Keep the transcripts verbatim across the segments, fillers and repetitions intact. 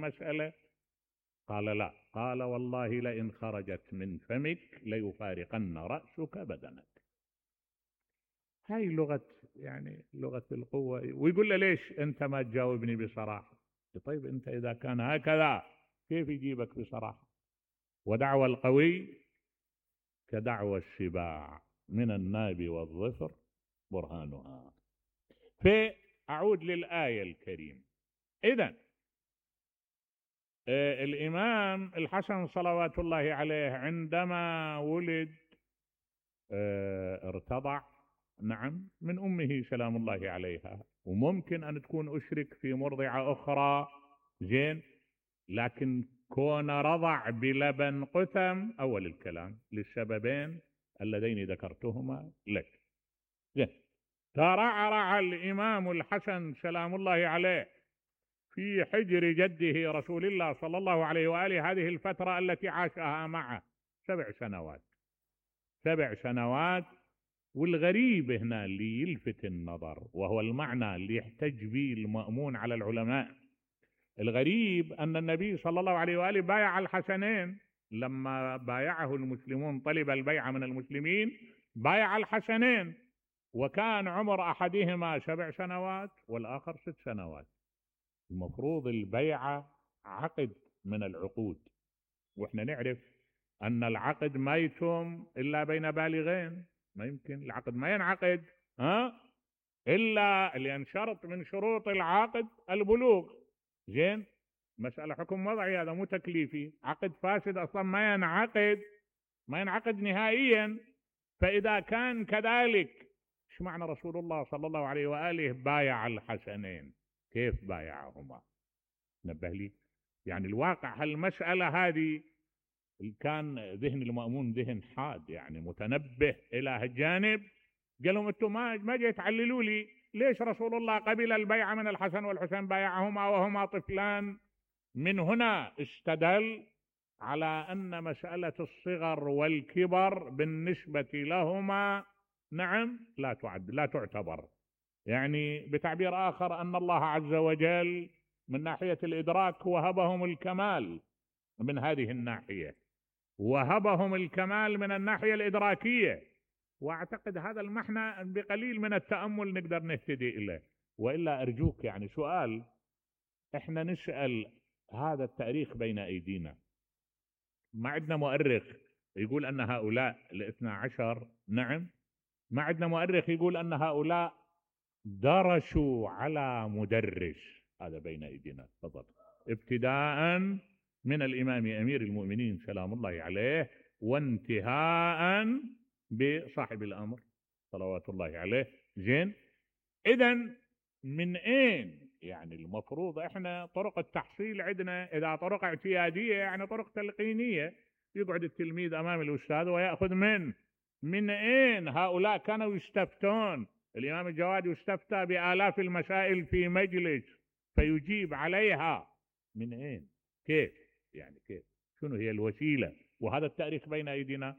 المسألة؟ قال لا. قال والله لئن خرجت من فمك ليفارقن رأسك بدنك. هاي لغة يعني لغة القوة. ويقول له ليش أنت ما تجاوبني بصراحة؟ طيب أنت إذا كان هكذا كيف يجيبك بصراحة؟ ودعوى القوي كدعوى السباع من الناب والظفر برهانها. فأعود للآية الكريمة. إذن آه الإمام الحسن صلوات الله عليه عندما ولد آه ارتضع، نعم، من أمه سلام الله عليها، وممكن أن تكون أشرك في مرضعة أخرى، زين، لكن كون رضع بلبن قثم أول الكلام للسببين اللذين ذكرتهما لك. زين. ترعرع الإمام الحسن سلام الله عليه في حجر جده رسول الله صلى الله عليه وآله هذه الفترة التي عاشها معه سبع سنوات. سبع سنوات. والغريب هنا اللي يلفت النظر وهو المعنى اللي يحتج به المأمون على العلماء، الغريب أن النبي صلى الله عليه وآله بايع الحسنين. لما بايعه المسلمون طلب البيعة من المسلمين، بايع الحسنين، وكان عمر أحدهما سبع سنوات والآخر ست سنوات. المفروض البيعة عقد من العقود، وإحنا نعرف أن العقد ما يتم إلا بين بالغين. ما يمكن العقد ما ينعقد ها إلا لأن شرط من شروط العقد البلوغ. زين. مسألة حكم وضعي، هذا مو تكليفي. عقد فاسد أصلا ما ينعقد، ما ينعقد نهائيا. فإذا كان كذلك، ايش معنى رسول الله صلى الله عليه وآله بايع الحسنين؟ كيف بايعهما؟ نبه لي. يعني الواقع هالمسألة هذه كان ذهن المأمون ذهن حاد، يعني متنبه إلى هالجانب. قال لهم انتم ما ما جاي تعللوا لي ليش رسول الله قبل البيعة من الحسن والحسين بايعهما وهما طفلان. من هنا استدل على أن مسألة الصغر والكبر بالنسبة لهما، نعم، لا تعد لا تعتبر. يعني بتعبير آخر أن الله عز وجل من ناحية الإدراك وهبهم الكمال من هذه الناحية، وهبهم الكمال من الناحية الإدراكية. وأعتقد هذا المعنى بقليل من التأمل نقدر نهتدي إليه. وإلا أرجوك يعني سؤال، إحنا نسأل هذا التاريخ بين أيدينا، ما عندنا مؤرخ يقول أن هؤلاء الاثنى عشر، نعم، ما عندنا مؤرخ يقول أن هؤلاء درسوا على مدرس. هذا بين أيدينا. تفضل. ابتداء من الإمام أمير المؤمنين سلام الله عليه، وانتهاء بصاحب الأمر صلوات الله عليه. زين. إذن من أين يعني المفروض إحنا طرق التحصيل عندنا؟ إذا طرق اعتيادية يعني طرق تلقينية، يقعد التلميذ أمام الأستاذ ويأخذ منه. من أين هؤلاء كانوا يستفتون؟ الإمام الجواد يستفتى بآلاف المسائل في مجلس فيجيب عليها. من أين؟ كيف؟ يعني كيف؟ شنو هي الوسيلة؟ وهذا التاريخ بين أيدينا.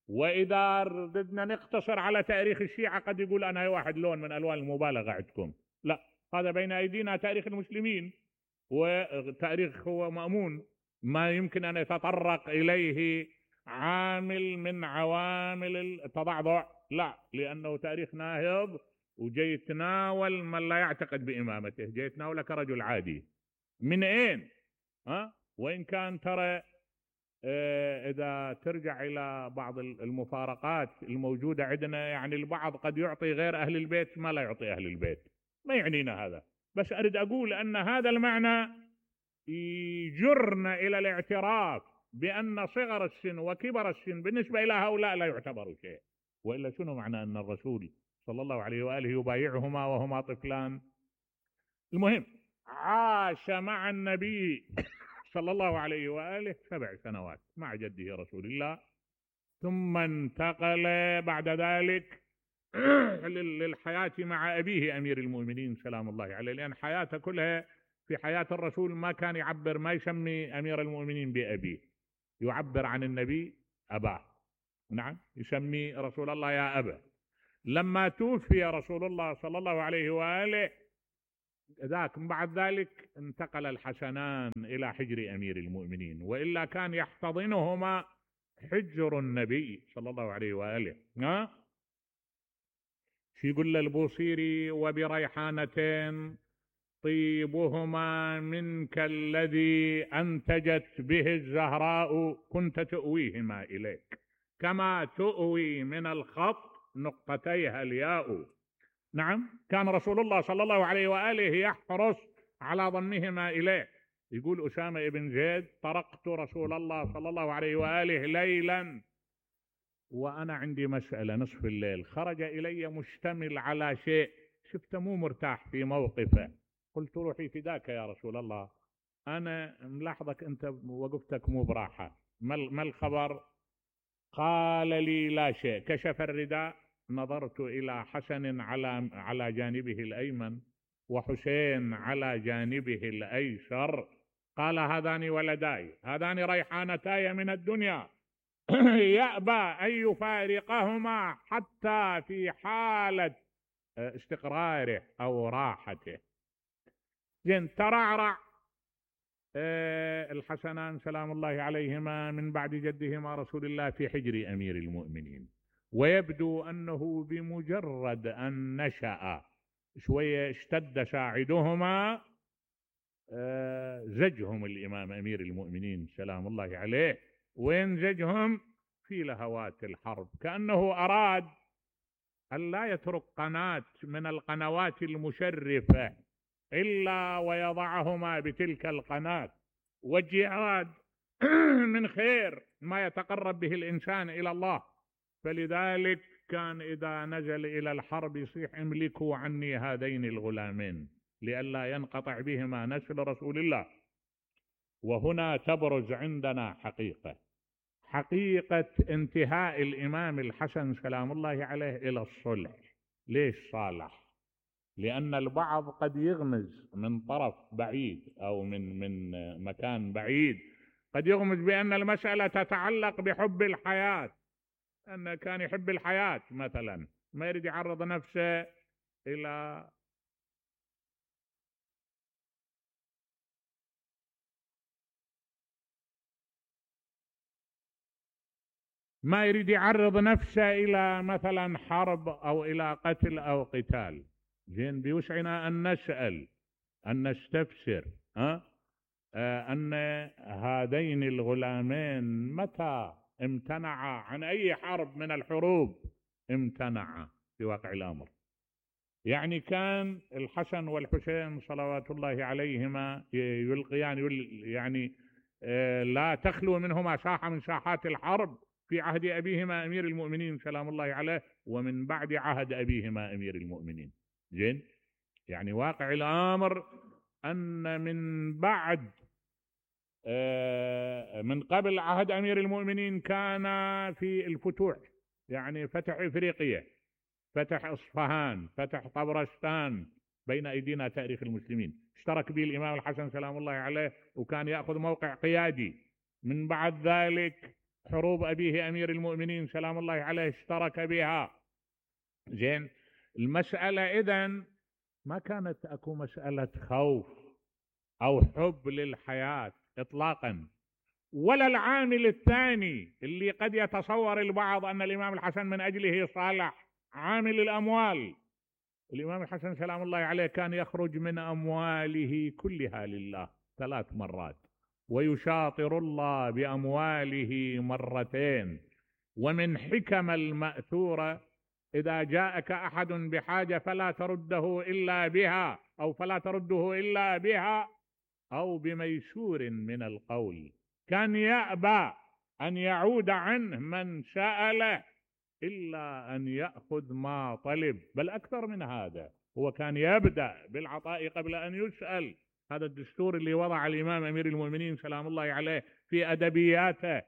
وإذا ردنا نقتصر على تاريخ الشيعة قد يقول أنا واحد لون من ألوان المبالغة عندكم. لا، هذا بين أيدينا تاريخ المسلمين، وتاريخ هو مأمون، ما يمكن أن يتطرق إليه عامل من عوامل التضعضع، لا، لأنه تاريخ ناهض وجاي يتناول من لا يعتقد بإمامته، جاي يتناوله كرجل عادي. من أين؟ ها؟ وإن كان ترى اه إذا ترجع إلى بعض المفارقات الموجودة عندنا، يعني البعض قد يعطي غير أهل البيت ما لا يعطي أهل البيت، ما يعنينا هذا، بس أريد أقول أن هذا المعنى يجرنا إلى الاعتراف بأن صغر السن وكبر السن بالنسبة إلى هؤلاء لا يعتبر شيء. وإلا شنو معنى أن الرسول صلى الله عليه وآله يبايعهما وهما طفلان؟ المهم عاش مع النبي صلى الله عليه وآله سبع سنوات مع جده رسول الله، ثم انتقل بعد ذلك للحياة مع أبيه أمير المؤمنين سلام الله عليه، لأن حياته كلها في حياة الرسول ما كان يعبر، ما يسمي أمير المؤمنين بأبيه، يعبر عن النبي أباه، نعم، يسمي رسول الله يا أبا. لما توفي رسول الله صلى الله عليه وآله ذاك من بعد ذلك انتقل الحسنان إلى حجر أمير المؤمنين، وإلا كان يحتضنهما حجر النبي صلى الله عليه وآله. ها شو يقول البوصيري؟ وبريحانتين طيبهما منك الذي أنتجت به الزهراء كنت تؤويهما إليك، كما تؤوي من الخط نقطتيها الياء. نعم، كان رسول الله صلى الله عليه وآله يحرص على ضمهما إليه. يقول أسامة بن زيد: طرقت رسول الله صلى الله عليه وآله ليلا وأنا عندي مسألة نصف الليل، خرج إلي مشتمل على شيء، شفته مو مرتاح في موقفه، قلت روحي فداك يا رسول الله، أنا ملاحظك أنت وقفتك مو براحة، ما الخبر؟ قال لي لا شيء. كشف الرداء، نظرت إلى حسن على على جانبه الأيمن وحسين على جانبه الأيسر، قال: هذان ولداي، هذان ريحانتاي من الدنيا، يأبى أن يفارقهما حتى في حالة استقراره أو راحته. زين، ترعرع الحسنان سلام الله عليهما من بعد جدهما رسول الله في حجر أمير المؤمنين، ويبدو أنه بمجرد أن نشأ شوية اشتد ساعدهما زجهم الإمام أمير المؤمنين سلام الله عليه، وينزجهم في لهوات الحرب، كأنه أراد أن لا يترك قناة من القنوات المشرفة إلا ويضعهما بتلك القناة، والجهاد من خير ما يتقرب به الإنسان إلى الله، فلذلك كان إذا نزل إلى الحرب يصيح: املكوا عني هذين الغلامين لئلا ينقطع بهما نسل رسول الله. وهنا تبرز عندنا حقيقة حقيقة انتهاء الإمام الحسن سلام الله عليه إلى الصلح. ليش صالح؟ لأن البعض قد يغمز من طرف بعيد أو من من مكان بعيد، قد يغمز بأن المسألة تتعلق بحب الحياة، أن كان يحب الحياة مثلا، ما يريد يعرض نفسه إلى ما يريد يعرض نفسه إلى مثلا حرب أو إلى قتل أو قتال. زين، بيوسعنا أن نسأل، أن نستفسر ها آه أن هذين الغلامين متى امتنعا عن أي حرب من الحروب؟ امتنعا في واقع الأمر. يعني كان الحسن والحسين صلوات الله عليهما يلقيان يعني آه لا تخلو منهما ساحة من ساحات الحرب في عهد أبيهما أمير المؤمنين سلام الله عليه، ومن بعد عهد أبيهما أمير المؤمنين. زين، يعني واقع الأمر أن من بعد من قبل عهد أمير المؤمنين كان في الفتوح، يعني فتح إفريقيا، فتح إصفهان، فتح طبرستان بين أيدينا تاريخ المسلمين، اشترك به الإمام الحسن سلام الله عليه وكان يأخذ موقع قيادي. من بعد ذلك حروب أبيه أمير المؤمنين سلام الله عليه اشترك بها. زين، المسألة إذن ما كانت أكو مسألة خوف أو حب للحياة إطلاقا، ولا العامل الثاني اللي قد يتصور البعض أن الإمام الحسن من أجله صالح، عامل الأموال. الإمام الحسن سلام الله عليه كان يخرج من أمواله كلها لله ثلاث مرات، ويشاطر الله بأمواله مرتين. ومن حكم المأثورة: إذا جاءك أحد بحاجة فلا ترده إلا بها، أو فلا ترده إلا بها أو بميسور من القول. كان يأبى أن يعود عنه من سأله إلا أن يأخذ ما طلب، بل أكثر من هذا، هو كان يبدأ بالعطاء قبل أن يسأل. هذا الدستور اللي وضع الإمام أمير المؤمنين سلام الله عليه في أدبياته.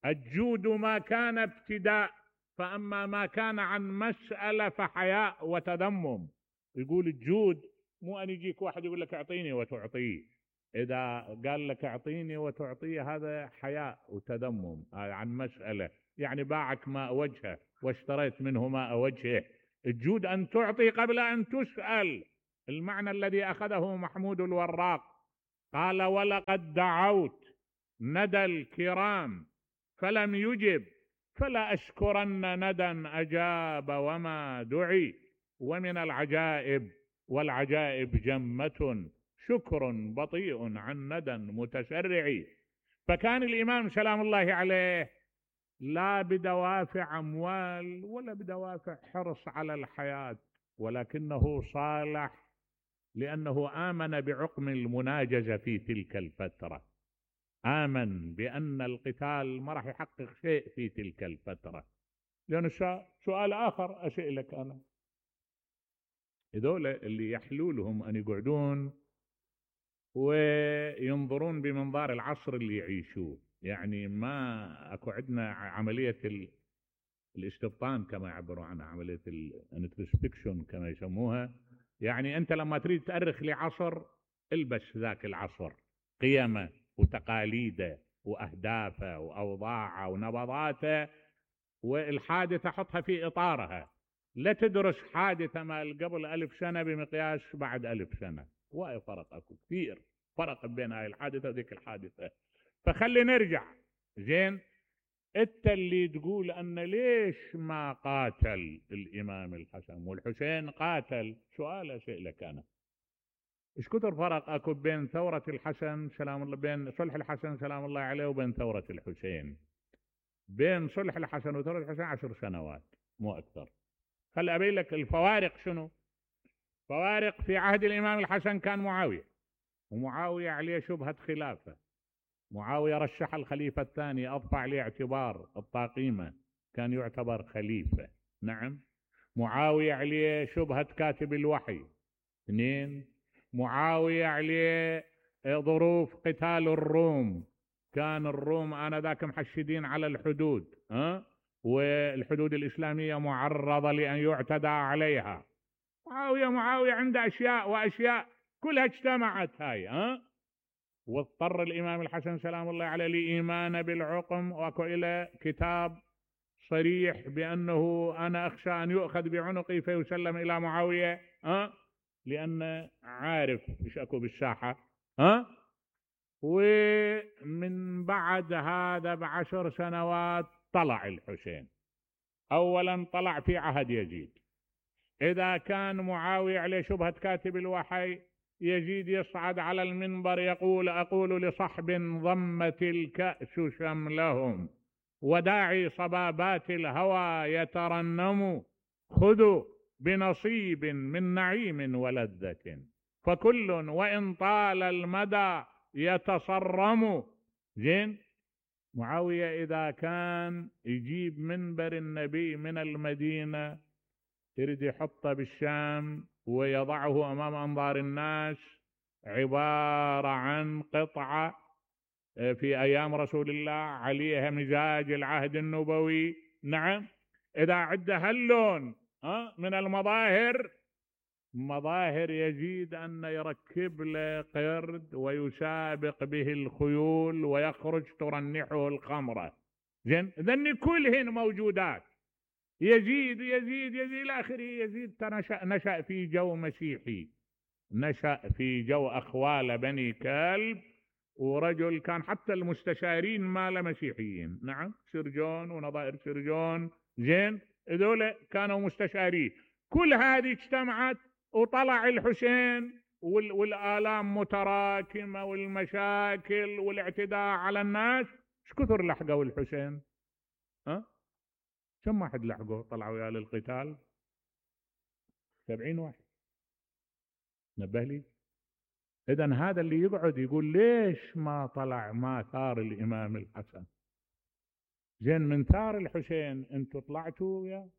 الجود ما كان ابتداء، فأما ما كان عن مسألة فحياء وتذمم. يقول الجود مو أن يجيك واحد يقول لك أعطيني وتعطيه، إذا قال لك أعطيني وتعطيه هذا حياء وتذمم عن مسألة، يعني باعك ماء وجهه واشتريت منه ماء وجهه. الجود أن تعطي قبل أن تسأل، المعنى الذي أخذه محمود الوراق، قال: ولقد دعوت ندى الكرام فلم يجب، فلا أشكرن ندى أجاب وما دعي، ومن العجائب والعجائب جمة، شكر بطيء عن ندى متسرع. فكان الإمام سلام الله عليه لا بدوافع أموال ولا بدوافع حرص على الحياة، ولكنه صالح لأنه آمن بعقم المناجزة في تلك الفترة، آمن بأن القتال ما راح يحقق شيء في تلك الفترة. لأن سؤال آخر أسألك أنا، هذول اللي يحلو لهم أن يقعدون وينظرون بمنظار العصر اللي يعيشوه، يعني ما أكو عندنا عملية الاستبطان كما يعبروا عنها، عملية الانتروسبكشن كما يسموها، يعني أنت لما تريد تأرخ لعصر البس ذاك العصر قيمه وتقاليده وأهدافه وأوضاعه ونبضاته، والحادثة حطها في إطارها، لا تدرس حادثة مال قبل ألف سنة بمقياس بعد ألف سنة، وايد فرق، أكو كثير فرق بين هاي الحادثة وذيك الحادثة. فخلي نرجع زين، انت اللي تقول أن ليش ما قاتل الإمام الحسن والحسين قاتل، سؤال أسألك أنا، ايش كثر فرق اكو بين ثورة الحسن سلام الله، بين صلح الحسن سلام الله عليه وبين ثورة الحسين؟ بين صلح الحسن وثورة الحسين عشر سنوات مو أكثر. خل أبين لك الفوارق شنو. فوارق: في عهد الإمام الحسن كان معاوية، ومعاوية عليه شبهة خلافة، معاوية رشح الخليفة الثاني، أضفى عليه اعتبار الطاقيمة، كان يعتبر خليفة. نعم. معاوية عليه شبهة كاتب الوحي. اثنين. معاوية عليه ظروف قتال الروم، كان الروم آنذاك محشدين على الحدود، ها، والحدود الإسلامية معرضة لأن يعتدى عليها. معاوية معاوية عنده أشياء وأشياء كلها اجتمعت هاي، ها، واضطر الإمام الحسن سلام الله عليه لإيمان بالعقم، وأكو إلى كتاب صريح بأنه أنا أخشى أن يؤخذ بعنقي فيسلم إلى معاوية، ها، لأن عارف إيش أكو بالساحة، ها. ومن بعد هذا بعشر سنوات طلع الحسين. أولا طلع في عهد يزيد، إذا كان معاوية عليه شبهة كاتب الوحي، يزيد يصعد على المنبر يقول: أقول لصحب ضمت الكأس شملهم وداعي صبابات الهوى يترنم، خذوا بنصيب من نعيم ولذة، فكل وإن طال المدى يتصرم. زين. معاوية إذا كان يجيب منبر النبي من المدينة يريد يحطه بالشام ويضعه أمام أنظار الناس، عبارة عن قطعة في أيام رسول الله عليها مزاج العهد النبوي. نعم. إذا عد هاللون من المظاهر، مظاهر يزيد أن يركب له قرد ويسابق به الخيول ويخرج ترنحه الخمرة. زين. ذن كلهن موجودات. يزيد يزيد يزيد إلى آخره. يزيد نشأ, نشأ في جو مسيحي، نشأ في جو أخوال بني كلب، ورجل كان حتى المستشارين مال مسيحيين. نعم. سرجون ونظائر سرجون. زين. هذول كانوا مستشارين. كل هذه اجتمعت وطلع الحسين، والآلام متراكمة والمشاكل والاعتداء على الناس. ايش كثر لحقوا الحسين؟ ها؟ كم واحد لحقوا طلعوا وياه للقتال؟ سبعين واحد. نبه لي. إذن هذا اللي يقعد يقول ليش ما طلع ما ثار الإمام الحسن؟ زين، من ثار الحسين انتوا طلعتوا وياه؟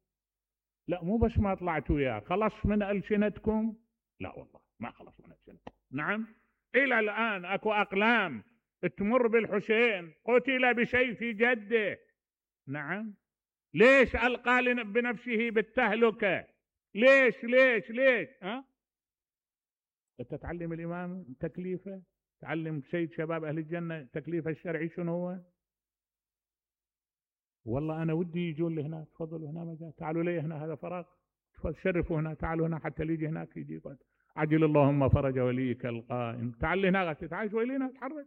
لا، مو بس ما طلعتوا وياه، خلص من ألسنتكم؟ لا والله ما خلص من ألسنتكم. نعم. إلى الآن أكو أقلام تمر بالحسين قتل بسيف جده. نعم. ليش ألقى بنفسه بالتهلكة؟ ليش ليش ليش ها؟ أنت تعلم الإمام تكليفه، تعلم سيد شباب أهل الجنة تكليفه الشرعي شنو هو. والله أنا ودي يجون لي هنا، تفضلوا هنا مجال، تعالوا لي هنا، هذا فراغ، شرفوا هنا، تعالوا هنا حتى اللي يجي هناك يجي يقعد. عجل اللهم فرج وليك القائم. تعال هنا تعال شوي لنا اتحرك.